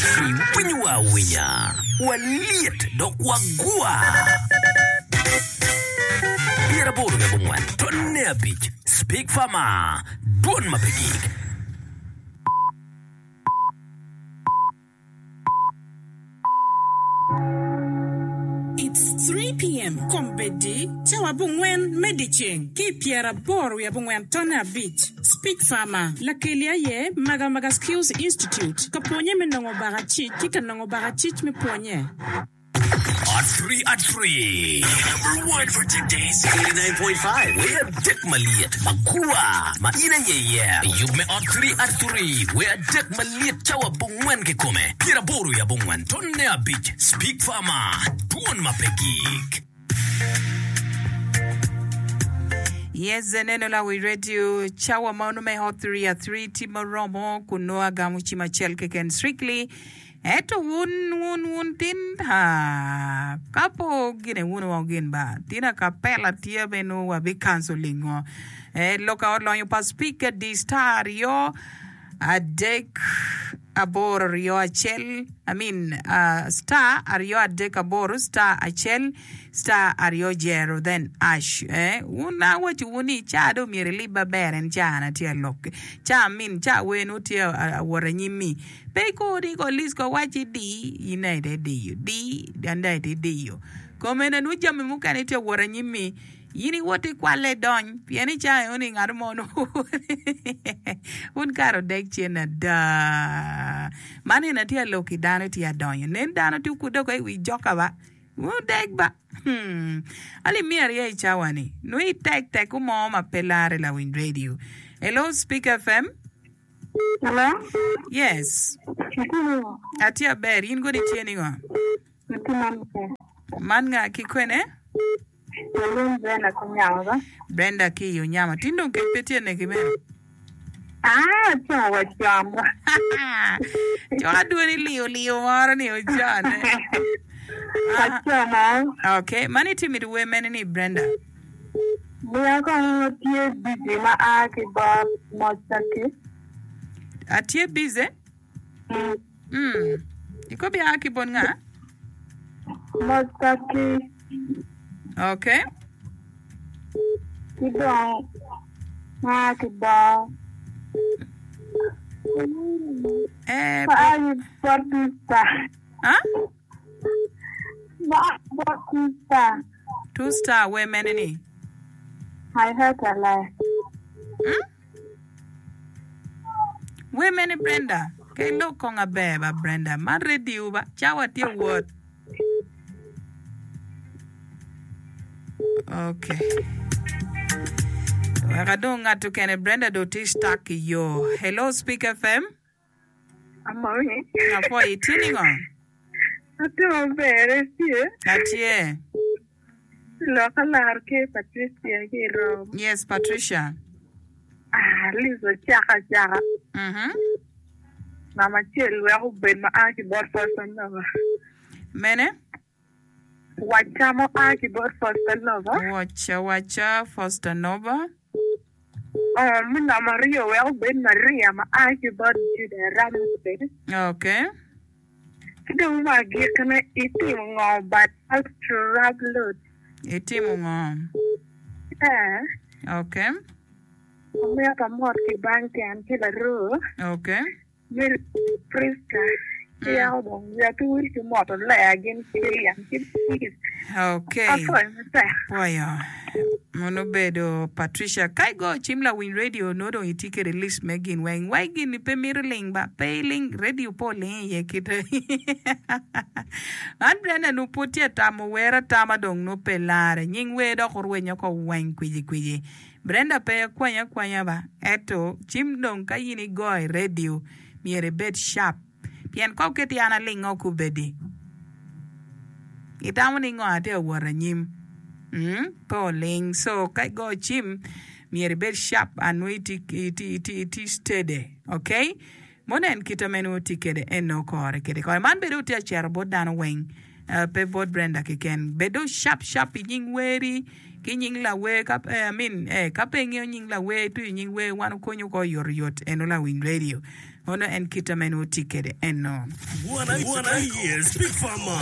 Iwinyowa awinya, walyet dok wagwa. 84 tonne abic Speak Farmer, Dwon ma pe gik. It's 3 PM, Kombeddi, cawa abongwen me dyeceng ki i pyeraboro wiye abongwen tonne abic. Speak Farmer, Lakeli aye Magamaga Skills Institute, ka pwonye me nongo bakacic ki ka nongo bakacic me pwonye. At three at three Number one for today's 89.5 Wer adek malyet magwar ma in aye iye. Yub me ot three at three Wer adek malyet cawa abongwen kikome pyeraboro i abongwen tonne abic Speak Farmer Dwon ma pe gik. Yes, eneno lawi radio cawa ma onongo me hot three at three tye ma oromo kun nongo agamo cim acel keken strictly Ento wun, wun, wun tin, ha, ka po gine wun wa gin ba, tin acapella tye me nongo wa bi canceling ngo. Eh, lok a olonyo pa speaker di star aryo adek aboro aryo acel, I mean, uh, star aryo adek aboro star acel star aryo jero then ash. Eh, wun awaco wun ni ca dong myero ilib maber en ca an atye alok. Ca min, ca wer nongo tye awot anyim-mi. Pe ikur ni ko lic ko wacci di, in aye ite diyo, di, an dong ite diyo. Komene nongo jami mukene tye wot anyim-mi, in iwot ikwalle idony, pien i cawa enoni ngat mo nongo wun kare odek cen ada. Man eni atye alok ki dano tye adonyo, nen dano tye okudde oko i wi joka ba, wun odek ba. Hmm. Alip miya aryo i cawa ni, nongo itek teko mo ma pe lare lawiny radio. Hello, Speak FM. Hello? Yes. Itye ningo? Atye aber. In kodi itye ningo? Atye maber. Man nga ki kwene? Walwong Brenda ki Onyama ba? Brenda ki i Onyama. Tin dong kec pe tye neki bene? Ah, con wa con ba. Cok adwoni liyo liyo moro ni ocone. Wa con o. Okay, man itye mito wer mene ni Brenda? Miya kong tye busy ma a ki bot Mocaki. Atye busy? Mm. Ikobi a ki bot nga? Mocaki. Okay. Ki dong ma a ki bot Eh, ma a ki bot Two Star. Ah? Ma a ki bot Two Star. Two star wer mene ni? I heard a lie. Hmm? Wer mene Brenda? Ke ilok kong aber ba Brenda. Man radio ba. Cawa tye wot. Okay. Wek adong ngat okene Brenda do tye stuck i yo. Hello Speak FM. Amoyi. Apwoyi, itye ningo? Atye maber, itye? Atye. Lok alar ki Patricia ki i Rome. Yes, Patricia. Ah, Liz ocako acaka. Mhm. Namba acel wek obed ma a ki bot Foster Nova. Mene? Wacca ma oa ki bot Foster Nova. Wacca wacca Foster Nova. Oh, me namba aryo wek obed Maria ma a ki bot Juda Ramsey. Okay. Ki dong me agikkine, itimo ngo by Pastor Rablot? Itimo ngo? Eh. Okay. Amito amot ki bang tyen ki laroo. Okay. Mary Prisca ki yako dong wiya pe wil ki moto Lea gin ki Lilian ki Louise. Okay. Apwoyo matek. Pwoyo. Mono obedo Patricia. Ka igoyo cim lawiny radio nongo dong itye kede list me gin weng. Wai gin ni pe mito ling ba. Pe iling radio pe oling iye kite. An Brenda nongo pwod tye atamo wer atama dong nongo pe lare. Nying wer dok orwenyo ko weng kwiji kwiji. Brenda pe akwany akwanya ba, ento cim dong ka in igoyo i radio myero ibed sharp pien ka oketi an alingo kubedi itamo ni ngo atye ka wot anyim mm pe oling so ka igoyo cim myero ibed sharp and nongo itye steady okay. Munen kite ma en tye kwede eno kore kede kore. Man bene otye acito bot dano weng, pe bot Brenda keken. Bed dong sharp sharp i nying weri ki nying lawer ka I mean eh ka pe ingeyo nying lawer ituco nying wer wan okonyo ko oyotoyot eno lawiny radio. Ono en kita ma en woti kede eno. Wan aye Speak Farmer.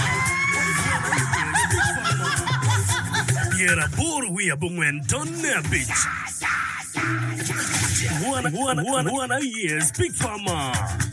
85.5. Wan aye Speak Farmer.